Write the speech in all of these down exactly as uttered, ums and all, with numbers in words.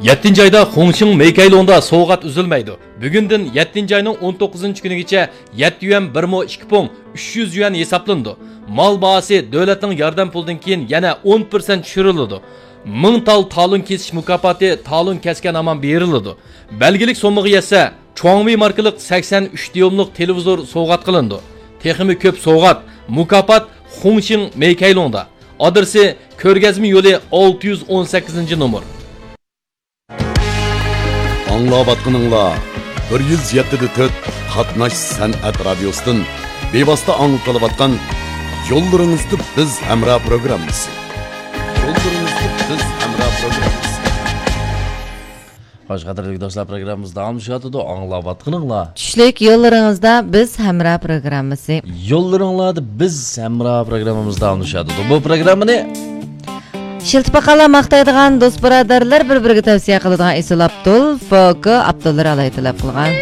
يەتتىنچى ئايدا خۇڭشىڭ مېيكەيلۇڭدا سوۋغات ئۈزۈلمەيدۇ. بۈگۈندىن يەتتىنچى ئاينىڭ ئون توققۇزىنچى كۈنىگىچە يەتتە يۈەن بىر مو ئىككى پۇڭ ئۈچ يۈەن ھېسابلىنىدۇ. مال باھاسى دۆلەتنىڭ ياردەم پۇلىدىن كېيىن يەنە ئون پىرسەنت چۈشۈرۈلىدۇ. مىڭ تال تالون كېسىش مۇكاپاتى تالون كەسكەن ھامان بېرىلىدۇ. بەلگىلىك سوممىغا يەتسە، چۇاڭۋېي ماركىلىق سەكسەن ئۈچ دىيۇملۇق تېلېۋىزور سوۋغات قىلىنىدۇ. تېخىمۇ كۆپ سوۋغات، مۇكاپات خۇڭشىڭ مېيكەيلۇڭدا. ئادرېسى: كۆرگەزمە يولى، ئالتە يۈز ئون سەككىزىنچى نومۇر. ئاڭلاۋاتقىنىڭلار بىر يۈز يەتتە دە تۆت قاتناش سەنئەت رادىيوسىدىن بىۋاسىتە ئاڭلىتىلىۋاتقان يوللىرىڭىزدا بىز ھەمراھ پروگراممىسى. يوللىرىڭىزدا بىز ھەمراھ پروگراممىسى. خوش، قەدىرلىك دوستلار، پروگراممىمىز داۋاملىشىۋاتىدۇ. ئاڭلاۋاتقىنىڭلار چۈشلۈك يوللىرىڭىزدا بىز ھەمراھ پروگراممىسى. يوللىرىڭلاردا بىز ھەمراھ پروگراممىمىز داۋاملىشىۋاتىدۇ. بۇ پروگراممىنى ئىشلىتىپ باققانلار ماختايدىغان دوست بۇرادەرلەر بىر-بىرىگە تەۋسىيە قىلىدىغان ئېسىل ئابدۇل، فوكو ئابدۇللا ئالاي تەلەپ قىلغان.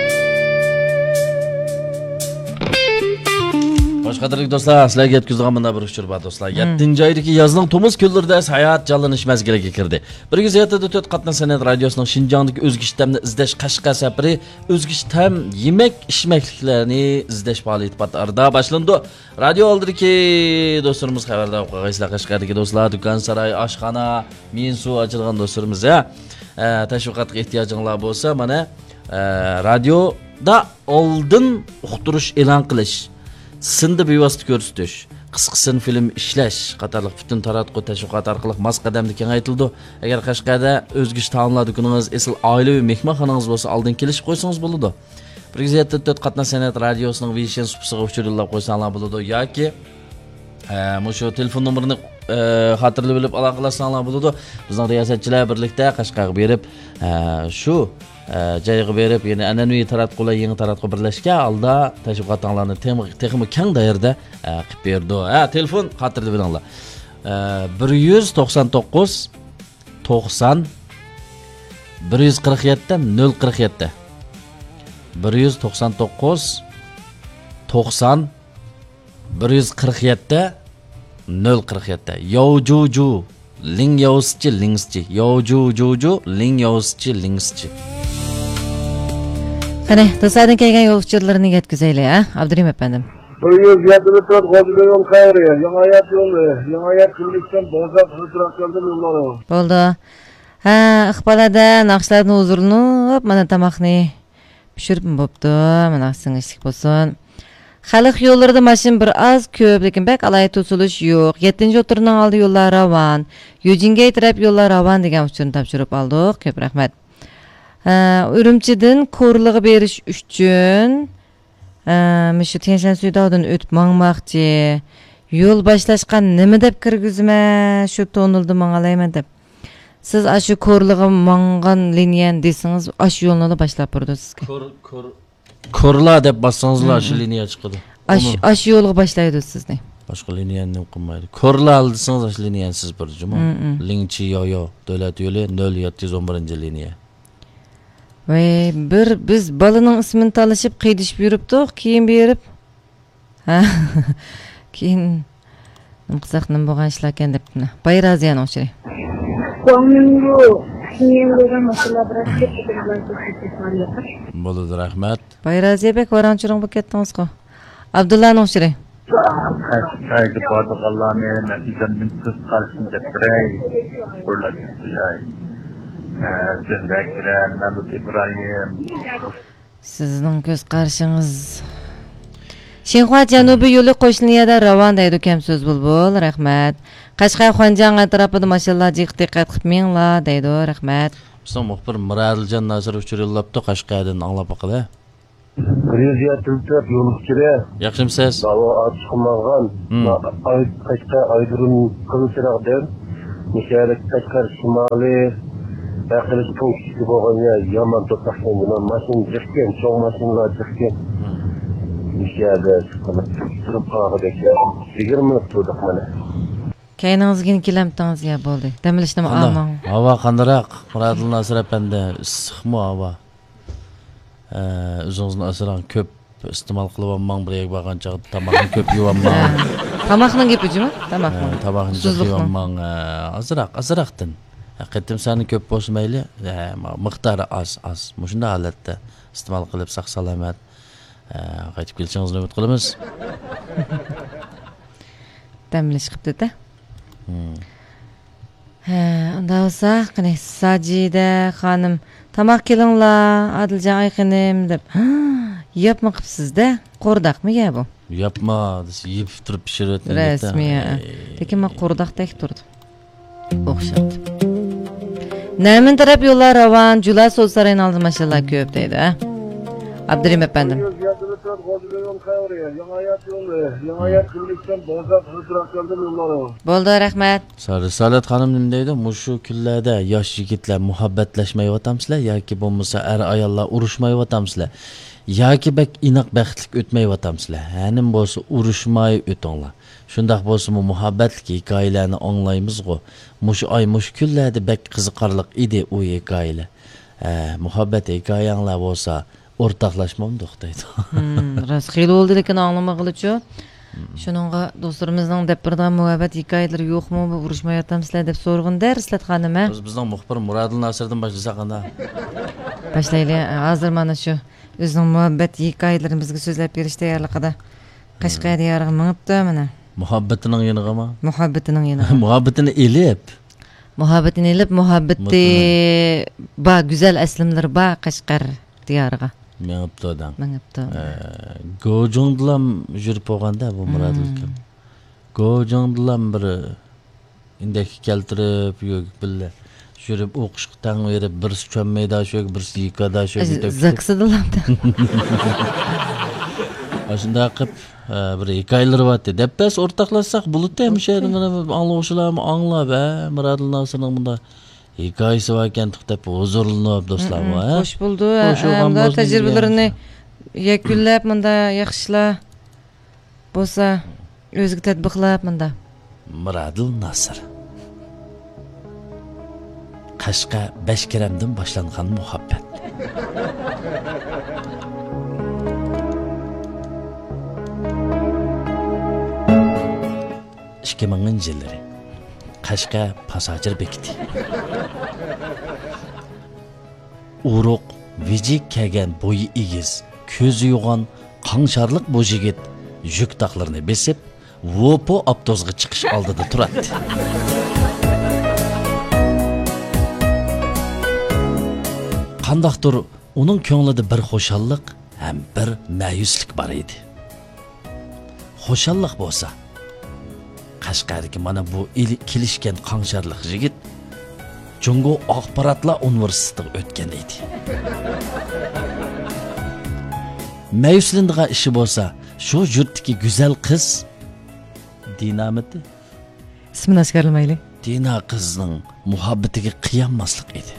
خوش، قەدىرلىك دوستلار، سىلەرگە يەتكۈزىدىغان مۇنداق بىر ئۇچۇر بار، دوستلار. مم. يەتتىنچى ئايدىكى يازنىڭ تومۇز كۈنلىرىدە ساياھەت جانلىنىش مەزگىلىگە كىردى. بىر يۈز يەتتە دە تۆت قاتناش سەنئەت رادىيوسىنىڭ شىنجاڭدىكى ئۆزگىچە تەمنى ئىزدەش قەشقەر سەپىرى ئۆزگىچە تەم يېمەك ئىچمەكلىكلەرنى ئىزدەش پائالىيىتى پات ئارىدا باشلىنىدۇ. رادىيو ئالدىدىكى دوستلىرىمىز خەۋەردار بولۇپ قالغايسىلەر، قەشقەردىكى دوستلار، دۇكان، ساراي، ئاشخانا، مېنسۇ ئاچىدىغان دوستلىرىمىز، ھە، ئە، تەشۋىقاتقا ئېھتىياجىڭلار بولسا، مانا، ئە، رادىيودا ئالدىن ئۇقتۇرۇش ئېلان قىلىش، سىندا بىۋاسىتە كۆرسىتىش، قىسقا سىن فىلىم ئىشلەش قاتارلىق پۈتۈن تاراتقۇ تەشۋىقات ئارقىلىق ماس قەدەمدە كېڭەيتىلىدۇ. ئەگەر قەشقەردە ئۆزگىچە تائاملار دۇكىنىڭىز، ئېسىل ئائىلىۋى مېھمانخانىڭىز بولسا، ئالدىن كېلىشىپ قويسىڭىز بولىدۇ. بىر يۈز يەتتە تۆت قاتناش سەنئەت رادىيوسىنىڭ ۋېيشىن سۇپىسىغا ئۇچۇر يوللاپ قويساڭلار بولىدۇ ياكى، ئە، مۇشۇ تېلېفون نومۇرىنى، ئە، خاتىرىلىۋېلىپ ئالاقىلاشساڭلار بولىدۇ. بىزنىڭ رىياسەتچىلەر بىرلىكتە قەشقەرگە بېرىپ، ئە، شۇ، ئە، جايغا بېرىپ، يەنە ئەنئەنىۋى تاراتقۇ بىلەن يېڭى تاراتقۇ بىرلەشكەن ھالدا تەشۋىقاتىڭلارنى تېخىمۇ، تېخىمۇ كەڭ دائىرىدە، ئە، قىلىپ بېرىدۇ. ھە، تېلېفون خاتىرىلىۋېلىڭلار. ئە، بىر يۈز توقسان توققۇز، توقسان، بىر يۈز قىرىق يەتتە، نۆل قىرىق يەتتە. بىر يۈز توقسان توققۇز، توقسان، بىر يۈز قىرىق يەتتە، نۆل قىرىق يەتتە. ياۋجۇجۇ، لىڭ ياۋسىچى، لىڭسىچى. ياۋجۇجۇجۇ، لىڭ ياۋسىچى، لىڭسىچى. قېنى، دوستلاردىن كەلگەن يول ئۇچۇرلىرىنى يەتكۈزەيلى، ھە، ئابدۇرېھىم ئەپەندىم. بىر يۈز يەتتە تۆت غوجىبېي يول خەيرى، يېڭى ھايات يولى، يېڭى ھايات كۈنلۈكتىن بوزاق ھۆكۈرەپ كەلدىم يوللارغا. بولدى. ھە، ئىقبال ھەدە ناخشىلاردىن ھۇزۇرلىنىپ، مانا تاماقنى پىشۇرۇپمۇ بوپتۇ. مانا سىڭىشلىك بولسۇن. خەلق يوللىرىدا ماشىنا بىر ئاز كۆپ، لېكىن بەك ئالاھىدە توسۇلۇش يوق. يەتتىنچى ئوتتۇرىنىڭ ئالدى يوللار راۋان. يۈجىنگەي تەرەپ يوللار راۋان دېگەن ئۇچۇرنى تاپشۇرۇپ ئالدۇق. كۆپ رەھمەت. ھە، ئۈرۈمچىدىن كورلىغا بېرىش ئۈچۈن، ھە، مۇشۇ تيەنشان سۈيداۋدىن ئۆتۈپ ماڭماقچى. يول باشلاشقا نېمە دەپ كىرگۈزىمەن؟ شۇ توننېلدا ماڭالايمەن دەپ. سىز ئاشۇ كورلىغا ماڭغان لىنىيەنى دېسىڭىز، ئاشۇ يولنىلا باشلاپ بېرىدۇ سىزگە. كور، كور، كورلا دەپ باسسىڭىزلا، مم، ئاشۇ لىنىيە چىقىدۇ. ئاش-، ئۇنى ئاشۇ يولغا باشلايدۇ سىزنى. باشقا لىنىيەنى نېمە قىلمايدۇ. كورلا دېسىڭىز، ئاشۇ لىنىيەنى سىز بېرىدۇ جۇمۇ. مم، مم. لىڭچى يايو، دۆلەت يولى، نۆل يەتتە يۈز ئون بىرىنچى لىنىيە. ۋەي، بىر بىز بالىنىڭ ئىسمىنى تالىشىپ، قىيدىشىپ يۈرۈپتۇق، كېيىن بېرىپ، ھە، كېيىن نېمە قىلساق، نېمە بولغان ئىشلاركەن دەپ، مانا، بايرازىيەنىڭ ئۇچۇرى. بولىدۇ، رەھمەت. بايرازىيە بەك ۋاراڭ-چۇرۇڭ بولۇپ كەتتىڭىزغۇ. ئابدۇللانىڭ ئۇچۇرى. خەيرگە بارىدىغانلارنى مەن ئۆزۈمدىن كۆز قارىشىمنى دەپ بېرەي. قۇرلار دەپ بېرەي. ئە، زۆھرە كىرەم، مەمۇت ئىبراھىم. سىزنىڭ كۆز قارىشىڭىز. شىنخۇا جەنۇبىي يولى قوشنا لىنىيەدە راۋان دەيدۇ كەم سۆز بۇلبۇل. رەھمەت. قەشقەر خۇەنجياڭ ئەتراپىدا ماشىنىلار جىق دىققەت قىلىپ مېڭىڭلار دەيدۇ. رەھمەت. بىزنىڭ مۇخبىر مىرادىلجان ناسىر ئۇچۇر يوللاپتۇ، قەشقەردىن ئاڭلاپ باقىلى. بىر يۈز يەتتە تۆت يول ئۇچۇرى. ياخشىمۇسىز؟ داۋا ئاچىقى ماڭغان. مم. ئاي-، قەشقەر ئايرودروم قىزىل چىراغدىن مۇشۇ يەردە قەشقەر شىمالىي ھەققىدىكى پونكىتى بولغان يەر يامان توساقكەن. ماشىنا جىقكەن، چوڭ ماشىنىلار جىقكەن. مم. مۇشۇ يەردە تۇرۇپ قالغۇدەك يىگىرمە مىنۇت تۇردۇق مانا. كەينىڭىزگىنى كېلەمتىڭىز يا، بولدى. دەم ئېلىشنىمۇ قانداق؟ ئالماڭ. ھاۋا قانداقراق، مۇرادىللا ناسىر ئەپەندى؟ ئىسسىقمۇ ھاۋا؟ ئە، ئۆزىڭىزنى ئاسراڭ، كۆپ ئىستېمال قىلىۋالماڭ، بىر يەرگە بارغان چاغدا تاماقنى كۆپ يېۋالماڭ. ھە. تاماقنىڭ گېپى جۇمۇ؟ تاماقنىڭ. ھە، تاماقنى جىق ئۇسسۇزلۇقنىڭ. يېۋالماڭ، ھە، ئازراق، ئازراقتىن. قېتىم سانى كۆپ بولسا مەيلى، ئە، مىقدارى ئاز، ئاز. مۇشۇنداق ھالەتتە ئىستېمال قىلىپ، ساق-سالامەت، ئە، قايتىپ كېلىشىڭىزنى ئۈمىد قىلىمىز. دەم ئېلىش قىپتۇ-دە. ھە، ئۇنداق بولسا، قېنى، ساجىدە خانىم، «تاماق كېلىڭلار، ئادىلجان، ئايخېنىم» دەپ، ياپما قىپسىز-دە. قورداقمۇ يە بۇ؟ ياپما دېسە، يېپىپ تۇرۇپ پىشۇرۇۋەتكەن گەپتە. رەسمىي، ھە. لېكىن ماڭا قورداقتەك تۇرىدۇ. ئوخشاپ. نەمىن تەرەپ يوللار راۋان، جۇلا سودا سارىيىنىڭ ئالدىدا ماشىنىلار كۆپ دەيدۇ، ھە؟ ئابدۇرېھىم ئەپەندىم. بولدى، رەھمەت. رىسالەت خانىم نېمە دەيدۇ؟ مۇشۇ كۈنلەردە ياش يىگىتلەر مۇھەببەتلەشمەيۋاتامسىلەر ياكى بولمىسا ئەر-ئاياللار ئۇرۇشمايۋاتامسىلەر؟ ياكى بەك ئىناق بەختلىك ئۆتمەيۋاتامسىلەر؟ ھە، نېمە بولسا ئۇرۇشماي ئۆتۈڭلار. شۇنداق بولسىمۇ مۇھەببەتلىك ھېكايىلەرنى ئاڭلايمىزغۇ. مۇشۇ ئاي، مۇشۇ كۈنلەردە بەك قىزىقارلىق ئىدى ئۇ ھېكايىلەر. ھە، مۇھەببەت ھېكايەڭلار بولسا ئورتاقلاشمامدۇق دەيدۇ. ھىم، راست، خېلى بولدى لېكىن ئاڭلىمىغىلىچۇ. شۇنىڭغا دوستلىرىمىزنىڭ دەپ بېرىدىغان مۇھەببەت ھېكايىلىرى يوقمۇ؟ بۇ ئۇرۇشمايۋاتامسىلەر دەپ سورىغىنىدە، رىسلەت خانىم، ھە؟ بىز، بىزنىڭ مۇخبىر مۇرادىل ناسىردىن باشلىساق قانداق؟ باشلايلى. ھازىر مانا شۇ ئۆزىنىڭ مۇھەببەت ھېكايىلىرىنى بىزگە سۆزلەپ بېرىش تەييارلىقىدا قەشقەر دىيارىغا مېڭىپتۇ مانا. مۇھەببىتىنىڭ يېنىغىمۇ؟ مۇھەببىتىنىڭ يېنىغا. مۇھەببىتىنى ئېلىپ. مۇھەببىتىنى ئېلىپ، مۇھەببىتى بار، گۈزەل ئەسلىمىلىرى بار قەشقەر دىيارىغا. مېڭىپتۇ دەڭ. مېڭىپتۇ. ئە، گوجۇڭدىلام يۈرۈپ بولغاندا بۇ مۇرادىل ئاكام. گوجۇڭدىلام بىر ئىندەككە كەلتۈرۈپ، يۈرۈپ بىللە يۈرۈپ ئوقۇشقا تەڭ بېرىپ، بىرسى چۈەنمەيدا شۇ، بىرسى يىكادا شۇ، ئەز-، يېتەكچى. زاكىسىدىلام. ئاشۇنداق قىلىپ، ئە، بىر ھېكايىلىرى بارتى. دەپ بەرسە ئورتاقلاشساق بولىدۇ، ھەمشە ئوكەي. مانا ئاڭلىغۇچىلارمۇ ئاڭلاپ، ھە، مۇرادىل ناسىرنىڭ مۇنداق ھېكايىسى باركەن دەپ ھۇزۇرلىنىپ دوستلارمۇ، ھە؟ خوش بولدى، ھە، خوش بولغان ئەمدى بولسۇن تەجرىبىلىرىنى دېگەن. يەكۈنلەپ، مۇنداق ياخشىلار بولسا، ئۆزىگە تەتبىقلاپ، مۇنداق. مۇرادىل ناسىر. قەشقەر بەشكېرەمدىن باشلانغان مۇھەببەت. ئىككى مىڭىنچى يىللىرى. قەشقەر پاساژىر بېكىتى. ئورۇق، ۋىجىك كىيگەن، بويى ئېگىز، كۆزى يوغان، قاڭشارلىق بۇ يىگىت يۈك تاقلىرىنى بېسىپ، ۋوپو ئاپتوبۇسقا چىقىش ئالدىدا تۇراتتى. قانداقتۇر ئۇنىڭ كۆڭلىدە بىر خۇشاللىق ھەم بىر مەيۈسلۈك بار ئىدى. خۇشاللىق بولسا، قەشقەردىكى مانا بۇ ئېلى-، كېلىشكەن قاڭشارلىق يىگىت جۇڭگو ئاخباراتلار ئۇنىۋېرسىتېتىغا ئۆتكەن ئىدى. مەيۈسلىنىدىغان ئىشى بولسا، شۇ يۇرتتىكى گۈزەل قىز دىنامىتى. ئىسمىنى ئاشكارىلىمايلى. دىنا قىزنىڭ مۇھەببىتىگە قىيالماسلىق ئىدى.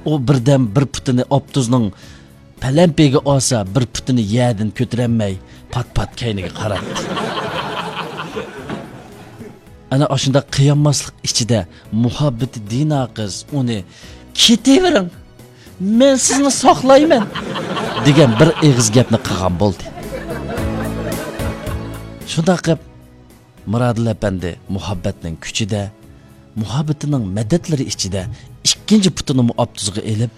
ئۇ بىردەم بىر پۇتىنى ئاپتوبۇسنىڭ پەلەمپىيىگە ئالسا، بىر پۇتىنى يەردىن كۆتۈرەلمەي، پات-پات كەينىگە قارايتتى. ئەنە ئاشۇنداق قىيالماسلىق ئىچىدە مۇھەببىتى دىنا قىز ئۇنى، «كېتىۋېرىڭ، مەن سىزنى ساقلايمەن» دېگەن بىر ئېغىز گەپنى قىلغان بولدى. شۇنداق قىلىپ، مۇرادىل ئەپەندى مۇھەببەتنىڭ كۈچىدە، مۇھەببىتىنىڭ مەدەتلىرى ئىچىدە ئىككىنچى پۇتىنىمۇ ئاپتوبۇسقا ئېلىپ،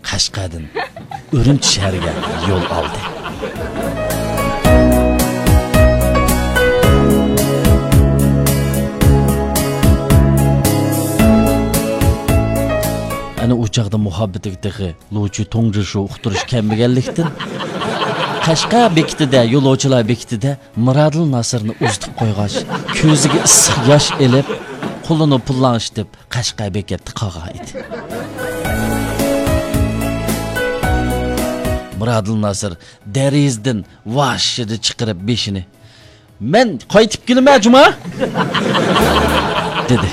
قەشقەردىن ئۈرۈمچى شەھىرىگە يول ئالدى. ئەنە ئۇ چاغدا مۇھەببىتىگە تېخى لۇچۈ تۇڭجىشۇ ئۇقتۇرۇش كەلمىگەنلىكتىن، قەشقەر بېكىتىدە، يولۇچىلار بېكىتىدە مۇرادىل ناسىرنى ئۇزىتىپ قويغاچ، كۆزىگە ئىسسىق ياش ئېلىپ، قولىنى پۇللاڭشىتىپ، قەشقەر بېكەتتە قالغان ئىدى. مۇرادىل ناسىر دېرىزىدىن ۋاششىدە چىقىرىپ بېشىنى، «مەن قايتىپ كېلىمەن جۇما!» دېدى.